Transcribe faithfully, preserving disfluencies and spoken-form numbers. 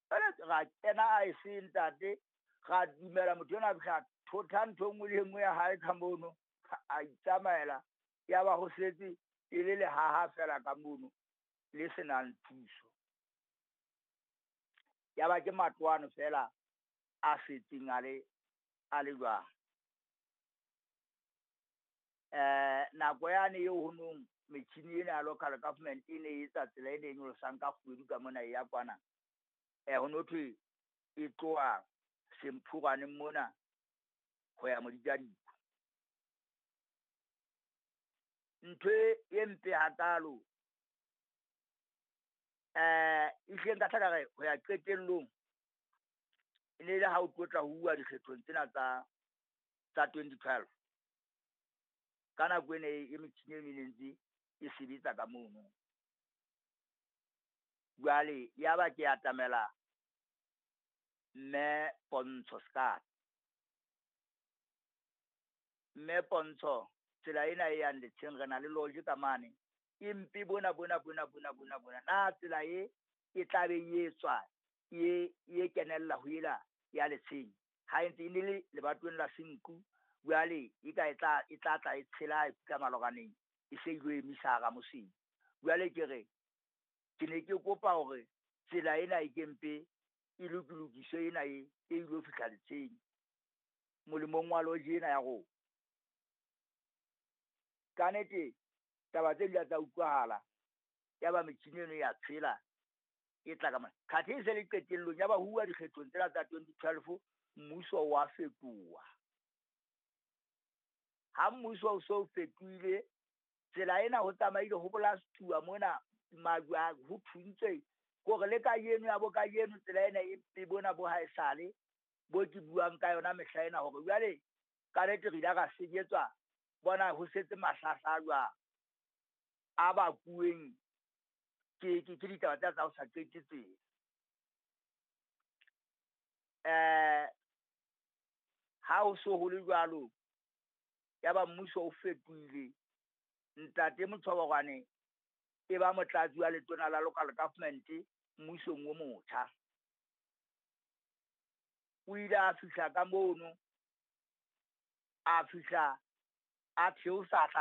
Ra kena aese ntate, ra dumela motho enwa a fihla thotha ntho e nngwe le e nngwe ya hae ka mono, a itsamaela. Ya ba ho setse e le lehaha feela ka mono le se nang thuso. Ya ba ke matlwana feela a setseng a le a le jwalo. Nako yane eo ho nong metjhini ena ya local government e ne e etsa tsela e ne e nyolosang ka kgwedu ka mona e ya kwana. Ho no thwe e tloha Semphorwaneng mona ho ya Modijadikwe. Ntho e mpe hakalo ehlile nka hla ka re ho ya qetellong, e ne le ha o tlo tla ho uwa dikgethong tsena tsa tsa twenty twelve. Ka nako ena e metjhini eno e ne ntse e sebetsa ka mono. Jwale ya ba ke atamela mme Pontsho Sekala. Mme Pontsho tsela ena e yang letsheng re na le lodge ka mane. E mpe bona bona bona bona bona bona. Na tsela e e tla be e etswa e e kenella ho ela ya letsheng. Ha e ntse e ne le lebatoweng la Senqu, jwale e ka e tla e tla tla e tshela e fihla malokwaneng e se ilo emisa hara Moseki. Jwale ke re ke ne ke kopa hore tsela ena e ke mpe e lokilokiswe ena e e ilo fihla letsheng molemong wa lodge ena ya rona. Kannete taba tse di la tsa utlwahala, ya ba metjhini eno ya tshela e tla ka mona. Khathe e se le qetellong ya ba huwa dikgethong tsena tsa twenty twelve, mmuso wa fetoha. Ha mmuso o so fetohile, tsela ena ho tsamaile ho bolastuwa mona majwe a ho thuntswe kore le kajeno ya bo kajeno tsela ena e mpe bona bo haesale bo ke buang ka yona mehla ena hore jwale kannete re ile ra senyetswa bona ho setse mahlahla jwang a bakuweng ke ke ke ditaba tsena tsa ho sa qete tsela. Ha ho so ho le jwalo, ya ba mmuso o fetohile. Ntate Motsholokwane e ba motlatsi wa letona la local government mmusong o motjha. O ile a fihla ka mono, a fihla a theosa